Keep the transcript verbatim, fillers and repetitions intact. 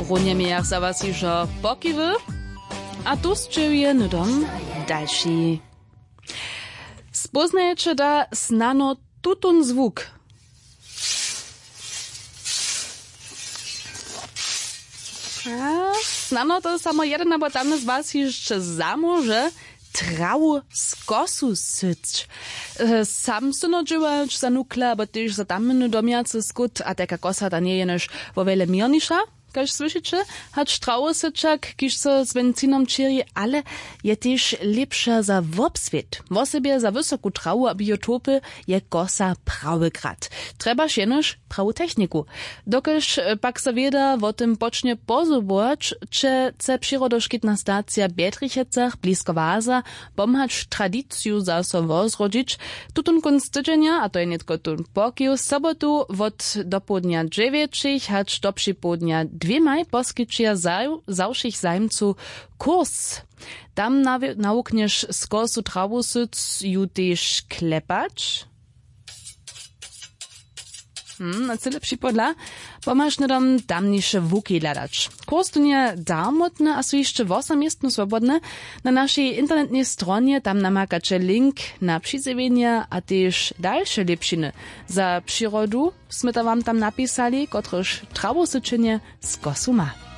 Runje mějach za was hižo pokiwy. A tu sćěhuje hnydom dalši. Spóznajeće da snano tutón zwuk? A snano to samo jeden abo tamny z was hišće zamóže trawu z kosu syć. E, sam syno dźěłać za nukle abo tež za tamny domjacy skót a tajka kosa ta njeje jenož wo wjele měrniša. Kaž słyšiće, hač trawosyćak kiž so z bencinom ćěri, ale je tež lěpša za wobswět. Wosebje za wysoku trawu a biotopy je kosa prawy grad. Trjebaš jenož prawu techniku. Dokelž pak so wěda wo tym počnje pozobować, će chce přirodoškitna stacija w bjedrichecach blisko waza pomhać tradiciju zaso wozrodźić. Tutón kónc tydźenja a to je nětko tón pokiw sobotu wot dopołdnja dźewjećich hač do připołdnja dwěmaj poskićeja za wšěch zajimcow kurs. Tam nawuknješ z kosu trawusyc ju tež klepać. Hmm, a cyle připodla pomhaš hnydom tamniše wuki hladać. Kurs tón je darmotny a su hišće wosom městno swobodne. Na našej internetnej stronje tam namakaće link na přizjewjenje a tež dalše lěpšiny. Za přirodu smy to wam tam napisali kotrež trawusyćenje z kosu ma.